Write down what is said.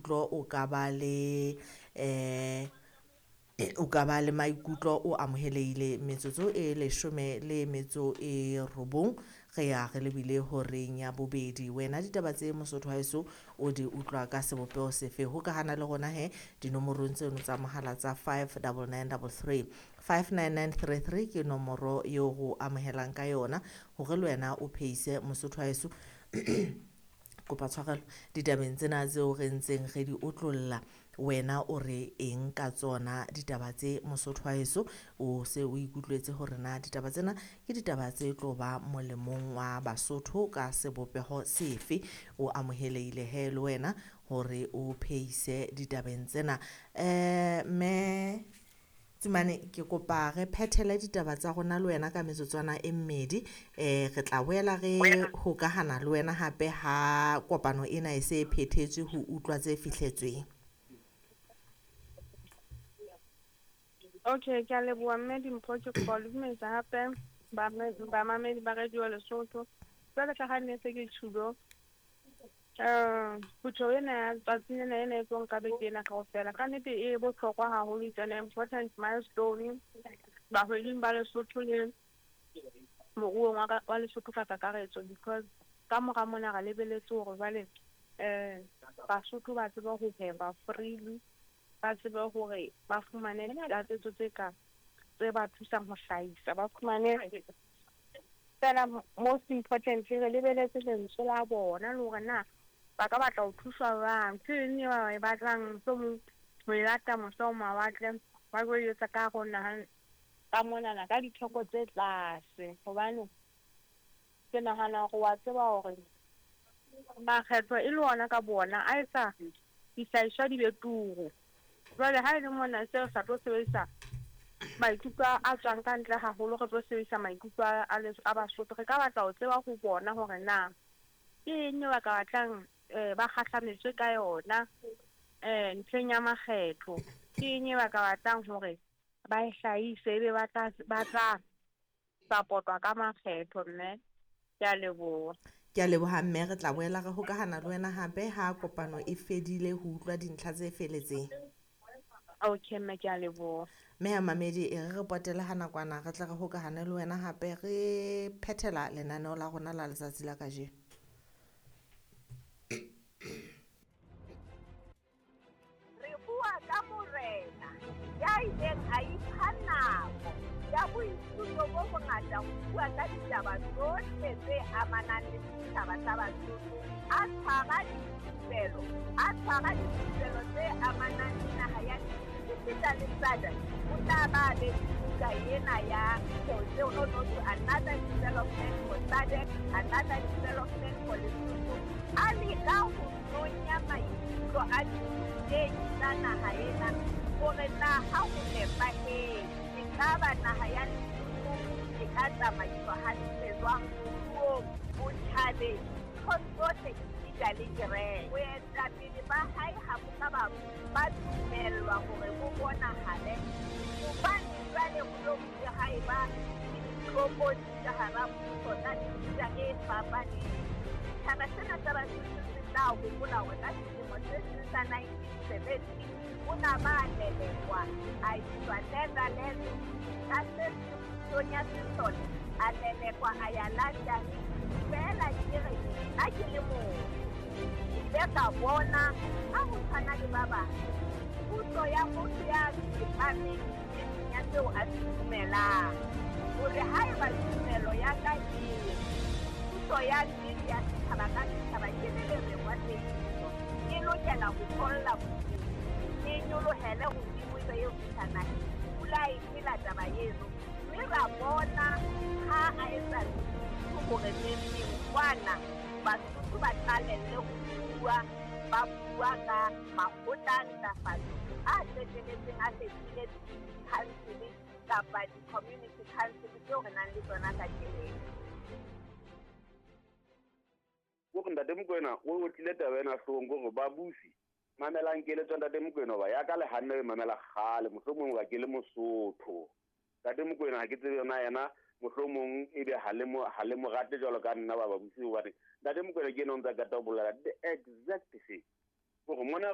maikutlo, o ka ba le o ka ba le maikutlo, o amohelehile. Metsotso e 19 re ya re lebile horeng ya bobedi. Wena ditaba tse Mosotho haeso o di utlwa ka sebopeho sefe? Hokahana le rona he dinomorong tseno tsa mohala tsa 59933 59933 ke nomoro eo go amohelang ka yona hore le wena o phehise Mosotho haeso kopa tshwarelo ditabeng tsena tseo re ntseng re di otlolla. Wena o re eng ka tsona ditaba tse Mosotho haeso? O se o ikutlwetse hore na ditaba tsena ke ditaba tse tlo ba molemong wa Basotho ka sebopeho sefe? O amohelehile he le wena hore o phehise ditabeng tsena. Mme Tsumane, ke kopa re phethele ditaba tsa rona le wena ka metsotswana e mmedi. Re tla boela re hokahana le wena hape ha kopano ena e se e phethetswe ho utlwa tse fihletsweng. Okay, ke a leboha mme Dimpho, ke kopa ho le dumedisa hape bamamedi ba Radio Lesotho. Jwale ka ha ne se ke tjhulo, phutheho ena ya tsatsing lena ena e tlo nka beke ena kaofela, ka nnete e bohlokwa haholo, it's an important milestone bahwebing ba Lesotho le moruong wa Lesotho ka kakaretso, because ka mora mona re lebeletse hore jwale Basotho ba tsebe ho hweba freely, ba tsebe hore ba fumane ditlatsetso tse ka tse ba thusang ho hlahisa, ba fumane fela. Most importantly, re lebeletse lentswe la bona le hore na ba ka batla ho thuswa jwang, ke eng e ba e batlang, mohlomong ho e lata mose ho mawatle, ba tlo e etsa ka hare ho naha ka monana ka ditheko tse tlase. Hobane ke nahana hore wa tseba hore makgetho e le ona ka bona a etsa dihlahiswa di be turu. Jwale ha e le mona se re sa tlo sebedisa maikutlo a tswang ka ntle haholo, re tlo sebedisa maikutlo a Basotho. Re ka batla ho tseba ho bona hore na ke eng e ba ka batlang ba kgahlametswe ka yona ntlheng ya makgetho, ke eng e ba ka batlang hore ba e hlahise, ebe ba tla support-wa ka makgetho. Mme ke a leboha. Ke a leboha mme, re tla boela re hokahana le wena hape ha kopano e fedile ho utlwa dintlha tse feletseng. Okay mme, ke a leboha. Mme ya mamedi, e re potele ha nakwana, re tle re hokahane le wena hape re phethela lenaneo la rona la letsatsi la kajeno. Re bua ka morena ya ileng a ipha nako ya boithuto bo bongata ho bua ka ditaba tsohle tse amanang le setjhaba sa Basotho, a tshwara dithupelo tse amanang le naha ya esita le SADC. O tla ba be le buka ena ya no another development for SADC, another development for Lesotho. A leka ho nonya maikutlo a dithutehi tsa naha ena hore na ha ho nepahetse ekaba naha ya Lesotho e ka tsamaiswa hantle jwang moruong, botjhabeng, nthong tsohle esita le kereke. Boetapele ba hae ha bo ka ba dumellwa hore bo bonahale, hobane jwale ho lo bile ha eba le ditlokotsi ka hara puso tsa mefuta e fapaneng. Setjhaba sena sa Basotho se tla hopola hore ka selemo se seng sa 1970 o na ba lelekwa a iswa Netherlands, ka se pusong ya sesole a lelekwa a ya London. Feela ke re nna ke le motho, ke ile ka bona ha ho tshwana le ba bang, puso ya motho ya tsepameng nneteng ya seo a se dumelang, hore haeba tumelo ya ka e re puso ya nnete ya setjhaba ka setjhaba ke le lereng wa tsebiso, e lokela ho tholla bodimo, e nyolohele hodimo ebe eo fihla naheng. Pula e phela taba eno, mme ra bona ha a etsa hore neng kwana Basotho ba qalelle ho bua, ba bua ka makgotla a ntlafatso a qetelletseng a fetohile di-council kapa di-community council tseo re nang le tsona kajeno. Hore Ntate Mokoena o tlile taba ena hloohong, hore babusi mamelang keletso Ntate Mokoena, hoba ya ka le hanne e mamela kgale, mohlomong hoba ke le Mosotho. Ntate Mokoena ha ke tsebe yona yena, mohlomong ebe ha le mo rate jwalo ka nna ba babusi, hobane Ntate Mokoena ke ena o ntsa qeta ho bolela the exact thing. Hore mona re